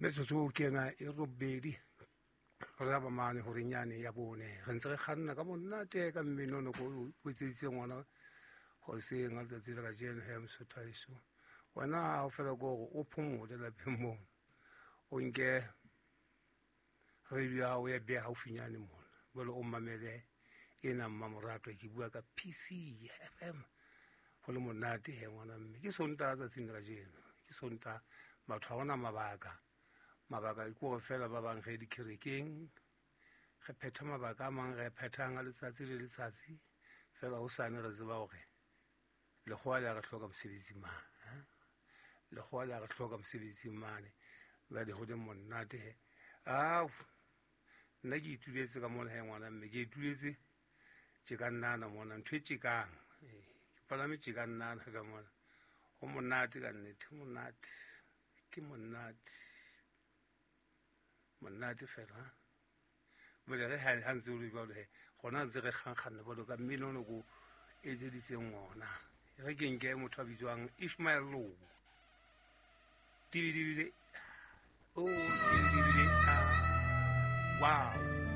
Metsotso ke ena e robedi re raba mane horenyane ya bone, re ntse re kganna ka monate ka mmino ko o etseditseng ngwana hoseng ka letsatsi la kajeno. He Mosotho haeso, wena ha o fela ko gore o phomole lapeng mono, o nke radio ya hao ya beha haufinyane mona, jwale o mamele ena mmamoratwa. Ke bua ka PC FM, go le monate he ngwana mme. Ke Sontaga tsatsing la kajeno, ke Sontaga, batho ga gona mabaka. Mabaka ke gore fela ba bang ge dikerekeng re phetha mabaka a mang, re phethang a letsatsi le letsatsi fela. Ho sane re tseba gore lekgowa le a re hloka mosebetsing mane, lekgowa le a re hloka mosebetsing mane. Jwale ho le monate he. Ao, nna ke ituletse ka mona he ngwana mme, ke ituletse tje ka nnana mona, ntho e tjekang, ke palame tje ka nnana ka mona. Ho monate ka nnete, ho monate, ke monate, monate fela. Bole re ha ntse o le jwalo he, gona ntse re kgankganna jwalo ka mmino ono ko etseditseng ona. Re ke nke motho a bitswang Ishmael Lobo, dibidibile o dibidibile. Wow.